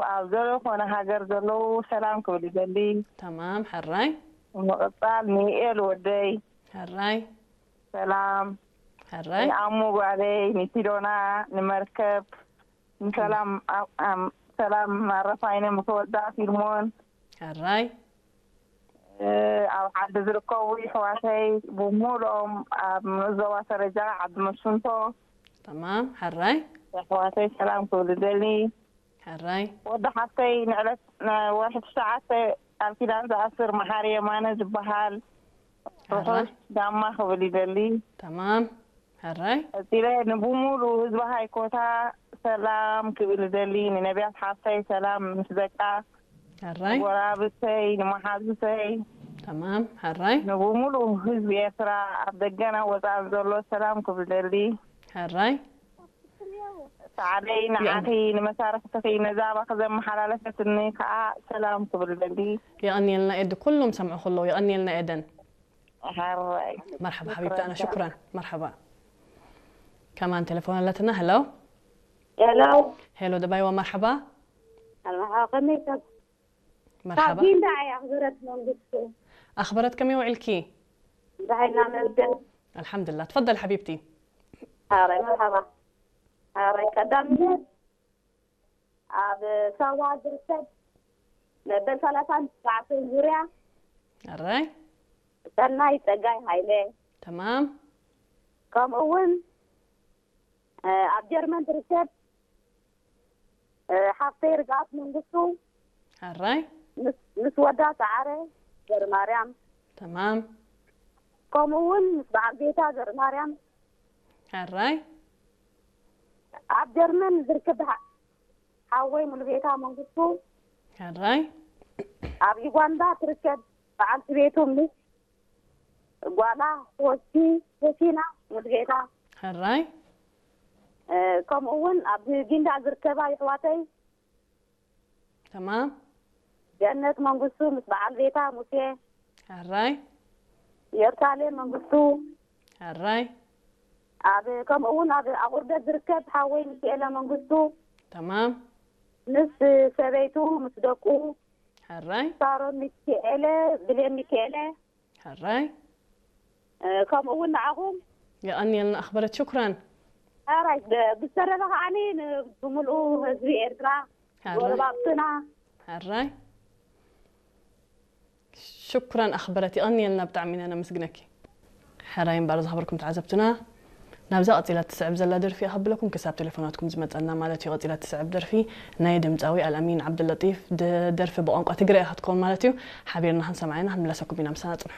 ኣብ ዘለኾነ ሃገር ዘለዉ ሰላም ክብል ይደሊ። ተማም። ሕራይ። ምቕጻል ንኤል ወደይ ሕራይ። ሰላም፣ ሕራይ። ንኣሙ ጓለይ፣ ንሲዶና፣ ንመርከብ፣ ንሰላም፣ ኣም- ኣም- ሰላም ማረፋይነ ምስ ወዳ ፊልሞን፣ ሕራይ። እ፣ ኣብ ዓዲ ዝርከቡ ይሕዋተይ ብምሉኦም ኣብ ንኡስ ዞባ ሰረጃ ዓዲ መሽንቶ ተማም። ሕራይ። ይሕዋተይ ሰላም ክብል ደሊ። ሕራይ። ወዲ ሓፍተይ ንዕለት ወርሒ ትሽዓተ ቃል ኪዳን ዝኣስር መሓሪ የማነ ዝበሃል ሕራይ። ርሑስ ጋማ ክብል ይደሊ። ተማም። ሕራይ። ቀፂለ ንብሙሉ ህዝቢ ሃይኮታ ሰላም ክብል ይደሊ። ንነቢያት ሓፍተይ ሰላም ምስ ደቃ፣ ሕራይ። ጎራብተይ፣ ንመሓዙተይ፣ ተማም። ሕራይ። ንብሙሉ ህዝቢ ኤርትራ ኣብ ደገና ወፃን ዘሎ ሰላም ክብል ደሊ። ሕራይ። ሳዕደይ ንዓኺ፣ ንመሳርሕትኺ፣ ነዛ ኣባኺ ዘመሓላለፈትኒ ከዓ ሰላም ክብል ደሊ። የቐንየልና ኤድ፣ ኩሎም ሰምዑ ከለዉ የቐንየልና ኤደን። ሕራይ። መርሓባ ሓቢብታና፣ ሽኩራን። መርሓባ። ከማን ቴሌፎን ኣለትና። ሄሎ። ሄሎ። ሄሎ ደባይዋ፣ መርሓባ። ኣልማሓ ከመይ ካብ ካብ መርሓባ። ጊንዳ እያ ኣኽብረት መንግስቱ። ኣኽብረት፣ ከመይ ውዒልኪ? ብሓይልና መስገን። ኣልሓምዱላ። ትፈደል ሓቢብቲ። ኣረ መርሓባ። ኣረ ቀዳምነት ኣብ ሳዋ ዝርከብ መበል ሰላሳን ትሽዓተን ዙርያ ኣራይ። ሰናይ ጸጋይ ሃይለ፣ ተማም። ከምኡ እውን ኣብ ጀርመን ትርከብ ሓፍተይ ርግኣት መንግስቱ ኣራይ። ምስ ወዳ ሰዓረ ገርማርያም፣ ተማም። ከምኡ እውን ምስ በዓል ቤታ ገርማርያም፣ ኣራይ። ኣብ ጀርመን ዝርከብ ሓወይ ሙሉጌታ መንግስቱ፣ ኣራይ። ኣብ ዩጋንዳ ትርከብ በዓልቲ ቤቱ ምስ ጓላ ሆሲ ሆሲና ሙሉጌታ፣ ኣራይ። ከምኡ እውን ኣብ ጊንዳ ዝርከባ ይሕዋተይ ተማም። ገነት መንግስቱ ምስ በዓል ቤታ ሙሴ፣ ኣራይ። ኢየሩሳሌም መንግስቱ፣ ኣራይ። ኣብ ከምኡ እውን ኣብ ኣቑርደት ዝርከብ ሓወይ ሚካኤለ መንግስቱ፣ ተማም። ምስ ሰበይቱ ምስ ደቁ፣ ኣራይ። ሳሮን ሚካኤለ፣ ብሌን ሚካኤለ፣ ኣራይ። ከምኡ እውን ንዓኹም የቐንየልና ኣኽበረት፣ ሽኩራን። ኣራይ። ብዝተረፈ ከዓኒ ን- ብምልኡ ህዝቢ ኤርትራ፣ ኣራይ። ጎረባብትና፣ ኣራይ። ሽኩራን ኣኽበረት፣ የቐንየልና፣ ብጣዕሚ ኢና ነመስግነኪ። ሕራይ እምበኣር ዝኸበርኩም ተዓዘብትና፣ ናብዛ ቀጺላ ትስዕብ ዘላ ደርፊ እያ ከብለኩም፣ ክሳብ ቴሌፎናትኩም ዝመጸና ማለት እዩ። ቀጺላ ትስዕብ ደርፊ ናይ ድምጻዊ ኣልኣሚን ዓብዱለጢፍ ድ- ደርፊ ብቋንቋ ትግረ እያ ክትከውን ማለት እዩ። ሓቢርና ክንሰምዓ ኢና፣ ክንምለሰኩም ኢና፣ ምሳና ጽንሑ።